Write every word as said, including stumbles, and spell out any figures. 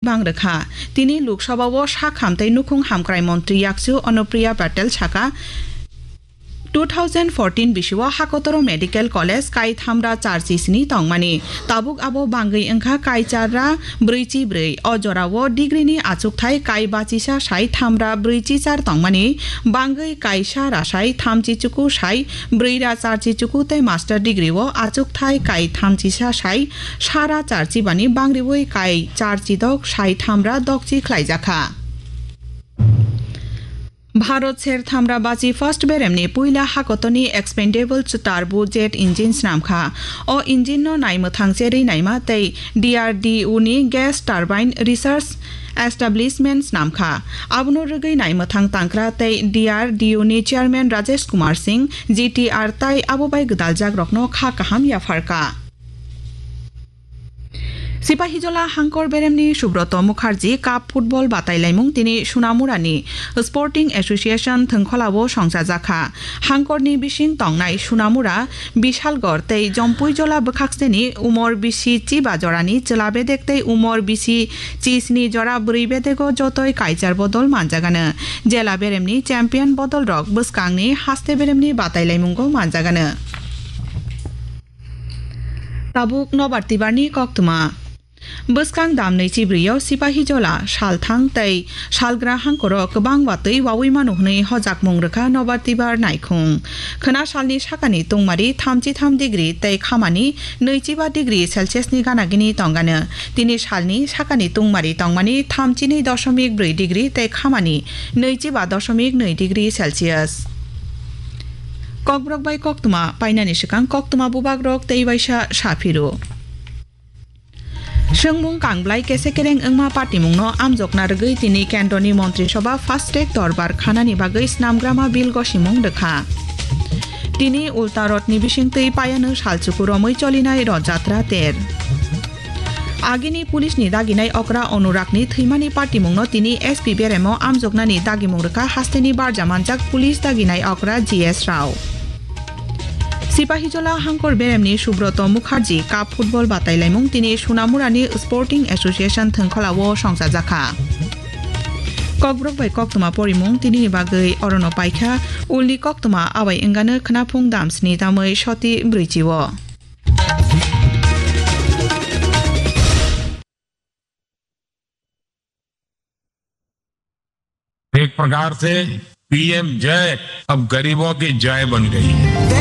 bang rwkha. Tini Lok Sabha o sak ham tei nukhung hamkrai montri yakchu Anupriya Patel saka, two thousand fourteen bisio Hakotoro Medical College kai thamra charchi sini tongmani. Tabuk abo bangwi wngkha kai charra brwichi brwi. O jorao degree ni achukthai kai bachisa sai thamra brwichi char tongmani. Bangwi kai sara sai thamchi chuku sai brwi ra charchi chuku tei master degree o achukthai kai thamchi sa sai sara charchi bani bangriwi kai charchi dok sai thamra dokchi khlaijakha. Bharat ser thamra bachi first beremni puila hakotoni expendable chutar bu jet engine snamkha. O engine no naimwthang cherwi naima tei D R D O ni gas turbine research establishment snamkha. Abono rwgwi naimwthang tangkra tei D R D O ni chairman Rajesh Kumar Singh, G T R tai abo bai gwdaljakrokno kha kaham yapharkha. Sipahijola hangkor beremni Subroto Mukherjee Cup football batailaimung tini Sunamurani Sporting Association thwngkholao songchajakha. Hangkorni bising tongnai Sunamura, Bishalgarh tei Jompuijola bwkhakseni umor bisi chiba jorani chwla bedek tei umor bisi chisni jora bwrwi bedego jotoi kaichar bodol manjagano. Jela beremni champion bodolrok bwskangni haste beremni batailaimungo manjagano. Tabuk nobar tibarni koktwma. Bwskang dam nwichi brwi o Sipahijola, Salthang tei Salgra hangkoro kwbang watwi wawi mano hwnwi hojakmung rwkha nobar tibar naikhung. Khwna salni sakani tungmari thamchi tham degree tei khamani nwichiba degree Celsius ni gana gini tongano. Tini salni sakani tungmari tongmani thamchinwi dosomik brwi degree tei khamani nwichiba dosomik nwi degree Celsius. Kokborok bai koktwma painani swkang koktwma bubagrok tei waisa sa phiro. Swngmung kangblai kese kereng wngma patimungno amjokna rwgwi tini kendroni Montri Sobha fast track dorbar khanani bagwi snamgrama bill gosimung rwkha. Tini Ulta Road ni bisingtwi payano salchuku romwi cholinai Rod Jatra ter. Agini police ni daginai okra Anurag ni thwimani patimungno tini S P beremo amjoknani dagimung rwkha hasteni barja manjak police daginai okra G S Rao. Sipahijola hangkor beremni Subroto Mukherjee Cup football batailaimung tini Sunamurani Sporting Association thwngkholao songchajakha. Kokborok bai koktwma porimung tinini bagwi orono paikha, ulni koktwma abai wngano khwnaphung dam sni tamwi soti brwichi o. एक प्रकार से पीएम जय अब गरीबों की जय बन गई है।